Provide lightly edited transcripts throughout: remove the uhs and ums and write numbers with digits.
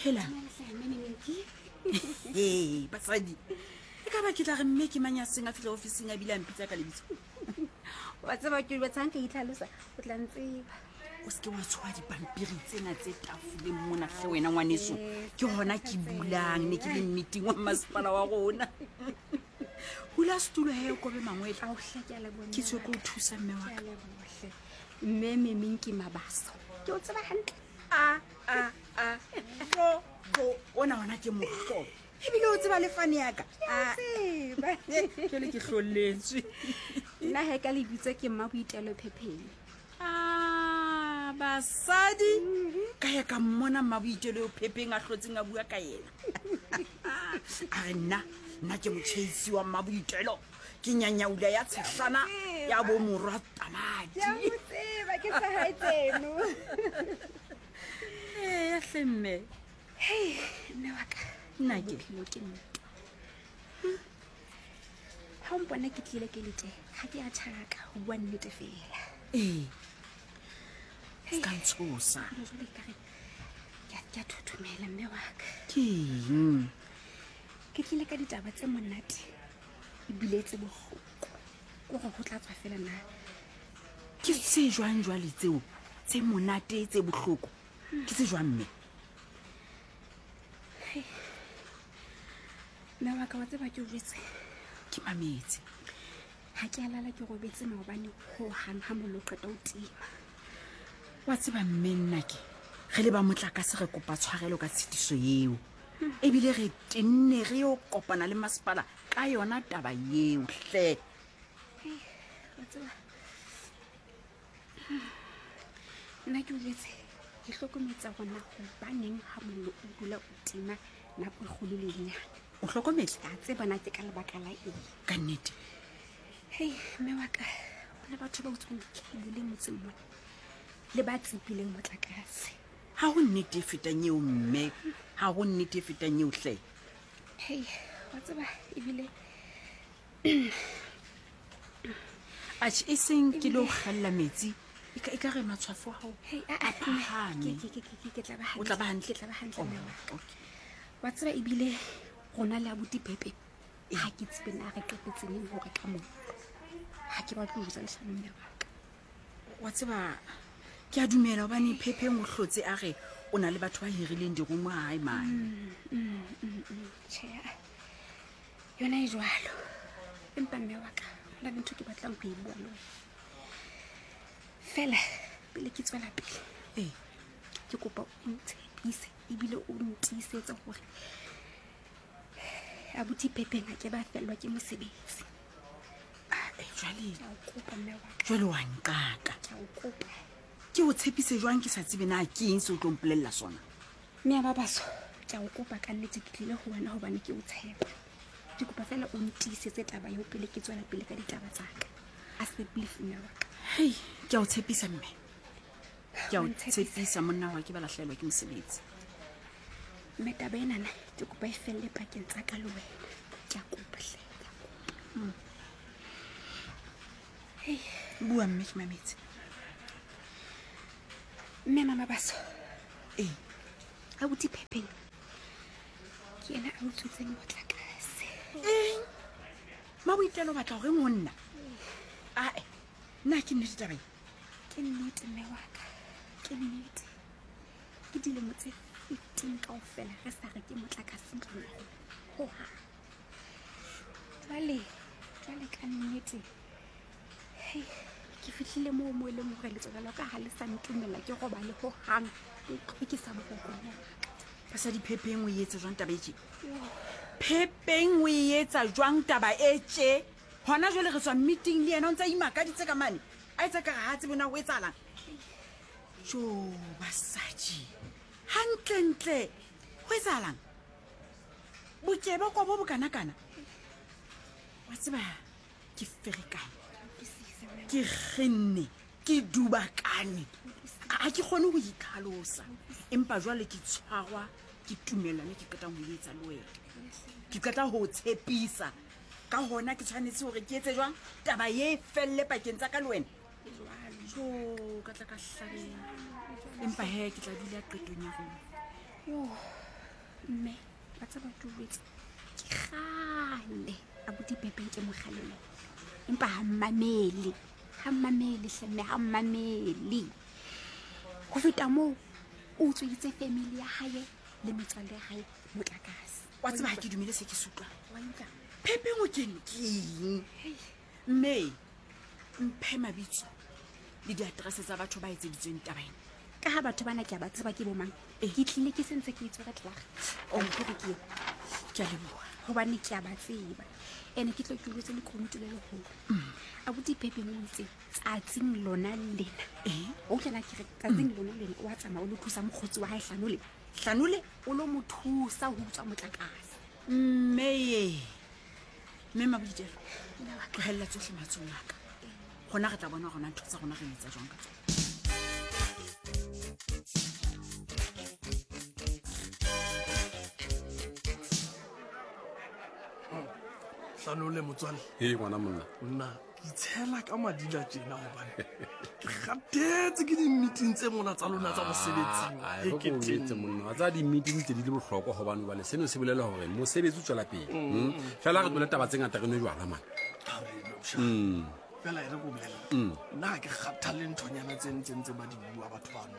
Hela. Ee, basadi. E ka ba ke tla re mme ke mang ya seng a fihla ofising a bile a mpitsa ka lebitso. Wa tseba ke batshang ka itlhalosa, o tla ntseba. O seke wa tshoa dipampiri tsena tse tafoleng mona hle wena ngwaneso. Ke hona ke bulang ne ke le mmeting wa masepala wa rona. Hula setulo he o kobe mangwele. Ao hle ke a leboha. Ke tswe ke o thusa mme wa Ke ka. a leboha hle. Mme Memeng ke Mabaso. Ke o tseba hantle. A a a bo bo ona ona ke mohlolo. Ebile o tseba le fane ya ka. A tseba. Jwale ke hlolletswe. Nna he ka lebitso ke mma Boitelo Phepheng. Ah, basadi ka ya ka mmona mma Boitelo eo Phepheng a hlotseng a bua ka yena. A re nna nna ke motjheisi wa mma Boitelo. Ke nyanyaula ya tshehlana ya bo morwa tamati. Ke a mo tseba ke sa hae tseno. Ee, hle mme. Hei, mme wa ka. Nna ke. Bophelo ke ntwa. Ha o mpona ke tlile ke le tje, ha ke a tjhaka ho bua nnete fela. Ee. Se ka ntshosa. Jwale jwale ekare ke a- ke a thothomela mme wa ka. Ke eng? Ke tlile ka ditaba tse monate ebile tse bohloko. Ke hore ho tla tswa fela na. Ke tse jwang jwale tseo? Tse monate tse bohloko. Ke tse jwang mme? Mme wa ka wa tseba ke o jwetse. Ke mametse. Ha ke a lala ke robetse maobane ho hang ha mollo o qeta ho tima. Wa tseba mme nna ke re le ba motlakase re kopa tshwarelo ka tshitiso eo. Ebile re tenne re yo kopana le masepala ka yona taba eo hle. Hei, wa tseba. Nna ke o jwetse ke hlokometse hore na hobaneng ha mollo o dula o tima nako e kgolo le e nyane. O hlokometse? Ka tseba na ke ka lebaka la eng. Ka nnete. Hei, mme wa ka, ho na batho ba utswang dikebole motseng mona le ba tsepileng motlakase. Ha ho nnete e fetang eo mme, ha ho nnete e fetang eo hle. Hei, wa tseba ebile Atjhe, e seng ke lo kgella metsi. E ka, e ka re matshwafo a hao Hei, a, a a, phahame. ke, ke, ke, ke, ke tla ba O tla ba hantle? Ke tla ba hantle, Oh, mme wa ka. okay. Wa tseba ebile rona le abuti Pepe ha ke tsebe na re qetetse neng hore ka moo. Ha ke batle ho jwetsa leshano mme wa ka. Wa tseba ke a dumela hobane Phepheng o hlotse a re o na le batho ba hirileng dirumo ha hae mane. Tjhe, a, yona e jwalo. Empa mme wa ka, ho na le ntho ke batlang ho e bua le wena. Fela pele ke tswela pele. Ee. Ke kopa o ntshepise ebile o ntiisetse hore abuti Phepheng a ke ba fellwa ke mosebetsi. Ah, jwale Ke a o kopa mme wa ka. Jwale wa nqaka. Ke a o kopa. Ke o tshepise jwang ke sa tsebe na ke eng se o tlo mpolella sona? Mme ya Mabaso, ke a o kopa ka nnete ke tlile ho wena hobane ke o tshepa. Ke kopa fela o ntiisetse taba eo pele ke tswela pele ka ditaba tsa ka. A se believe mme wa ka. Hei, ke a o tshepisa mme. Ke a o Wa ntshepisa. tshepisa monna wa ke ba lahlehelwa ke mosebetsi. Mme taba enana ke kopa e felle pakeng tsa ka le wena. Ke a kopa hle, ke a kopa. Hei. Bua mme ke mametse. Mme Mama Baso. Ee. Abuti Phepheng ke yena a utswitseng motlakase. Eng? Mmaboitelo o batla horeng ho nna? Ae, nna ke nnete taba e? Ke nnete mme wa ka, ke nnete. Ke dilemo tse 15 kaofela re sa reke motlakase ntlong ya rona. Hohang. Jwale, jwale ka nnete. Hei, ke fihlile moo mo e leng hore letswalo la ka ha le sa ntumella ke robale hohang. Ke tlhwekisa boroko mme wa ka. Basadi Phepheng o e etsa jwang taba e tje? Phepheng o e etsa jwang taba e tje? Hona jwale re tswa meeting le yena o ntse a imakaditse ka mane. A etsa ka re ha tsebe na ho etsahalang. Jo, basadi. Hantlentle ho etsahalang? Bokebekwa bo bokanakana. Wa tseba ke ferekane. Ke kgenne, ke dubakane. Ha ke kgone ho itlhalosa. Empa jwale ke tshwarwa ke tumellano ke qetang ho e etsa le wena. Ke qeta ho o tshepisa. Ka hona ke tshwanetse hore ke etse jwang? Taba e felle pakeng tsa ka le wena. Jo, ka tla ka hlabeha. Empa he ke tla dula qetong ya rona. Yo. Mme wa tseba ke jwetse ke kgale abuti Pepeng ke mokgalemo, empa ha mmamele, ha mmamele hle mme, ha mmamele. Ho feta moo, o utsweditse family ya hae le metswalle ya hae motlakase. Wa tseba ha ke dumele se ke se utlwang. Wa utlwa? Pepeng o kene keng? Mme mphe mabitso le diaterese tsa batho ba etseditsweng taba ena. Ka ha batho bana ke a ba tseba ke bomang, ke tlile ke sentse ke itshwere tlaga. Pampiri ke eo. Ke a leboha. Hobane ke a ba tseba. Ene ke tlo ke utlwetse lekunutu le leholo. Abuti Pepeng o itse tsatsing lona lena. O utlwa ke re tsatsing lona lena o a tsamaya o lo thusa mokgotsi wa hae Hlanole. Hlanole? O lo mo thusa ho utswa motlakase. Mme ye. Mme Maboitelo, tlohella tsohle matsohong a ka. Gona re tla bona gona ntho tsa rona re etsa jwang ka tsona. Hlanole motswalle. Ee, ngwana monna. Monna, ke itshela ka madila tjena hobane ke kgathetse ke di-meeting tse mona tsa lona tsa mosebetsing. Ah, ah, ke o monna. Wa tseba di-meeting tse di le bohlokwa hobane jwale seno se bolela hore mosebetsi o tswela pele. Fela re tlole taba tse ngata re nwe jwala mane. Fela e re ko bolella. Nna ha ke kgathale nthonyana tse ntseng tse ba di bua batho bano.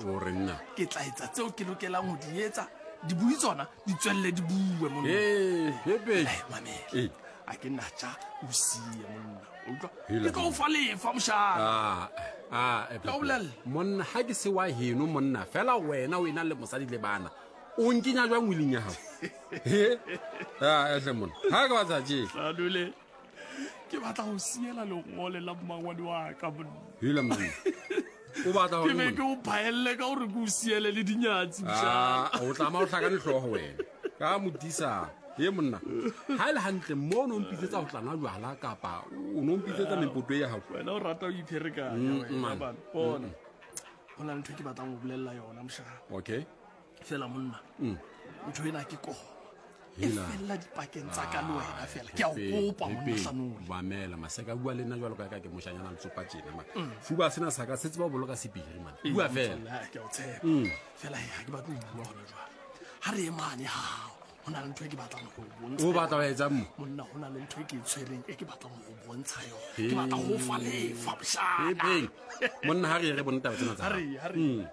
O re nna. Ke tla etsa tseo ke lokelang ho di etsa. Dibui tsona di tswelle di bue monna. Ee, Pepe. Ai, mamela. Ee. A ke nna tja o siye monna. O utlwa? Hela Ke tlo o fa lefa moshana. Ah, ah, eh, Ka o bolella. Monna ha ke se wa heno monna, fela wena o ena le mosadi le bana. O nkenya jwang wiling ya hao? He? Ah, ehle monna. Ha ke batla tje. Tladule. Ke batla ho siela lengole la mmangwane wa ka monna. Hela monna. O batla Ke hore be monna? ke o phaelle ka hore ke o siele le dinyatsi moshana. Ah, o tlama o hlakane hlooho wena. Ka modisa. He monna. Ha e le hantle mo no mpitsetsa ho tla nwa jwala kapa o no mpitsetsa mepoto ya hao. Wena o rata ho ipherekanya wena, Man. bana. Bona. Ho na le ntho e ke batlang ho bolella yona moshana. Okay. Fela monna. Ntho ena ke koma. E Hela. fella dipakeng tsa ka le wena fela. Ke a o Pepe, kopa monna Pepe, Hlanole. Mamela, Maseka bua le nna jwalo ka ka ke moshanyana letsopa tjena man. Fuba sena sa ka se tseba ho boloka sepiri man. Bua fela. Motswalle, ha, ke a o tshepa. Fela he, ha ke batle ho bua hona jwale. Ha re ye mane ha hao, ho na le ntho e ke batlang ho o bontsha. O batla ho etsang mo? Monna, ho na le ntho e ke e tshwereng e ke batlang ho o bontsha yona. He. Ke batla ho o fa lefa, moshana. Pepe. Monna ha re ye re bone taba tsena tsa Ha hao. re ye, ha re ye.